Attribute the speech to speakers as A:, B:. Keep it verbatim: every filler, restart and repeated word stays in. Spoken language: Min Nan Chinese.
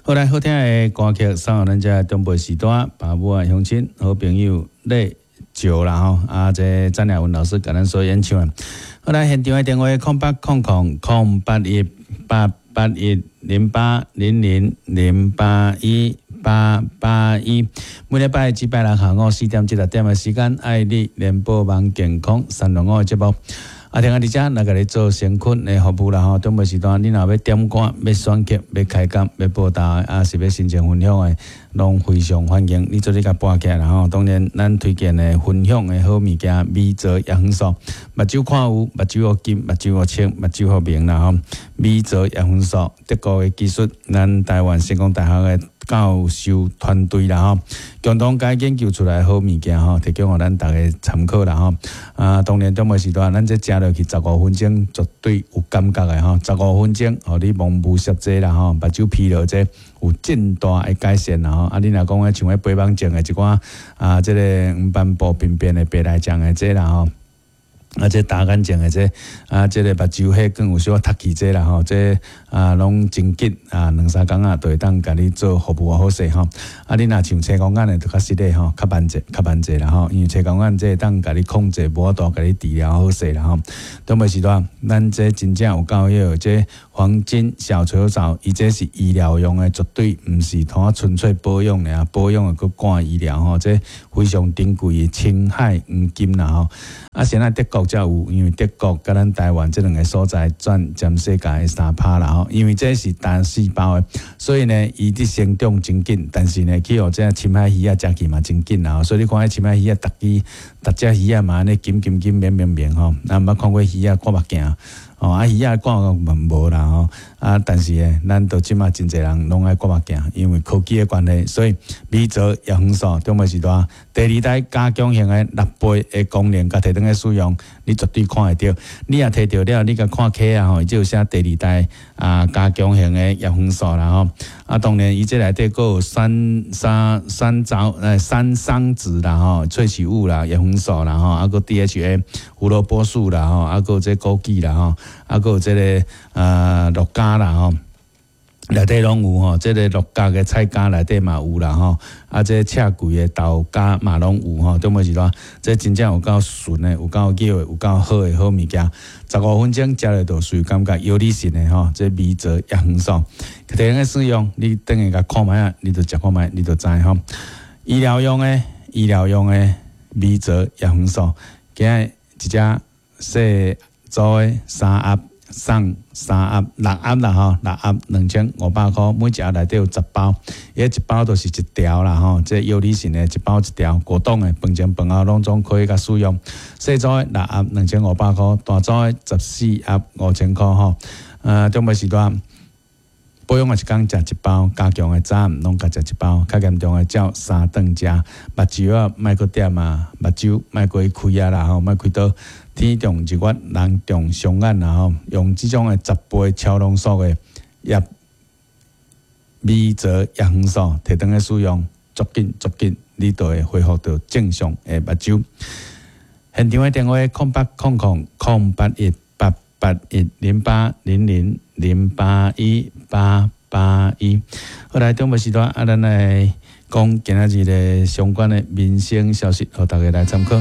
A: 好來，好聽的歌曲送予咱遮長輩時代，爸母啊、鄉親、好朋友咧招啦吼。啊，這詹雅雯老師共咱所演唱的。好來，現場的電話空八空空空八一八八一零八零零零八一八八一，每禮拜一拜六下午四點至六點的時間，愛你聯播網健康三六五的節目。啊，聽下佇遮來共你做善款的服務啦吼。長輩時段，你若欲點歌、欲選曲、欲開講、欲報道，啊是欲申請分享的，攏非常歡迎你做你共撥起來啦吼。當然，咱推薦的分享的好物件，米澤葉黃素，目睭看有，目睭予金，目睭予清，目睭予明啦吼。米澤葉黃素，德國的技術，咱台灣成功大學的教授團隊啦吼，共同共研究出來好物件吼，提供予咱逐家參考啦吼。啊，當然長輩時段，咱這食落去十五分鐘絕對有感覺的吼，十五分鐘，予你蒙霧濕這啦吼，目睭疲勞這有真大的改善啦吼。啊，你若講像彼飛蚊症的一寡啊，這個黃斑部病變的白內障的這啦吼。啊，這乾眼症的這啊，這個目睭血管有小可凸起這啦吼，這啊攏真緊啊，兩三工仔就會當共你做服務好勢吼。啊，你若像青光眼的，就較實咧吼，較慢者，較慢者啦吼，因為青光眼這會當共你控制，無法度共你治療好勢啦吼。長輩時段，咱這真正有夠彼個這黃金小球藻，伊這是醫療用的，絕對毋是通純粹保養的啊，保養的閣趕醫療吼，這非常珍貴的深海黃金啦吼。啊，現在德國才有，因為德國佮咱台灣這兩个所在佔全世界的三趴啦吼。因為這是單細胞的，所以呢，伊佇成長真緊，但是呢，去予這深海魚仔食去嘛真緊啦。所以你看彼深海魚仔，逐支逐隻魚仔嘛按呢金金金明明明吼，咱毋捌看過魚仔掛目鏡。哦，啊魚仔掛嘛無啦吼，啊，但是呢，咱到這馬真濟人攏愛掛目鏡，因為科技的關係，所以米澤葉黃素長輩時段第二代加強型的六倍的功能，共提轉去使用，你絕對看會著。你若提著了，你共看起啊吼，伊就有寫第二代啊加強型的葉黃素啦吼。啊，當然伊這內底閣有三三三藻呃三桑子啦吼，萃取物啦，葉黃素啦吼，啊閣 D H A 胡蘿蔔素啦吼，啊閣這枸杞啦吼。啊，閣有這个呃鹿角啦吼，內底攏有吼，這个鹿角的菜膠內底嘛有啦吼，啊，這赤桂的豆莢嘛攏有吼，重要是說，這真正有夠純的，有夠叫的，有夠好的好物件。十五分鐘食落肚就感覺藥理性的吼，這米澤葉黃素，提來使用，你等下共看覓仔，你就食看覓，你就知吼。醫療用的，醫療用的米澤葉黃素，今仔一隻細組的三盒送三盒六盒啦吼，六盒兩千五百箍，每一盒內底有十包，伊一包就是一條啦吼，這藥理性的一包一條，果凍的飯前飯後攏總可以共使用。細組的六盒兩千五百箍，大組的十四盒五千箍吼。呃，長輩時段保養的一工食一包，加強的早暗攏共食一包，較嚴重的照三頓食。目睭仔莫閣點啊，目睭莫閣開啊啦吼，莫開刀。天長日月，人長雙眼啦吼，用這種的十倍超濃縮的葉米澤葉黃素提轉去使用，足緊足緊，你就會恢復到正常的目睭。現場的電話：空八空空空八一八八一零八零零零八一八八一。好來，中午時段，啊，咱來講今仔日的相關的民生消息，予大家來參考。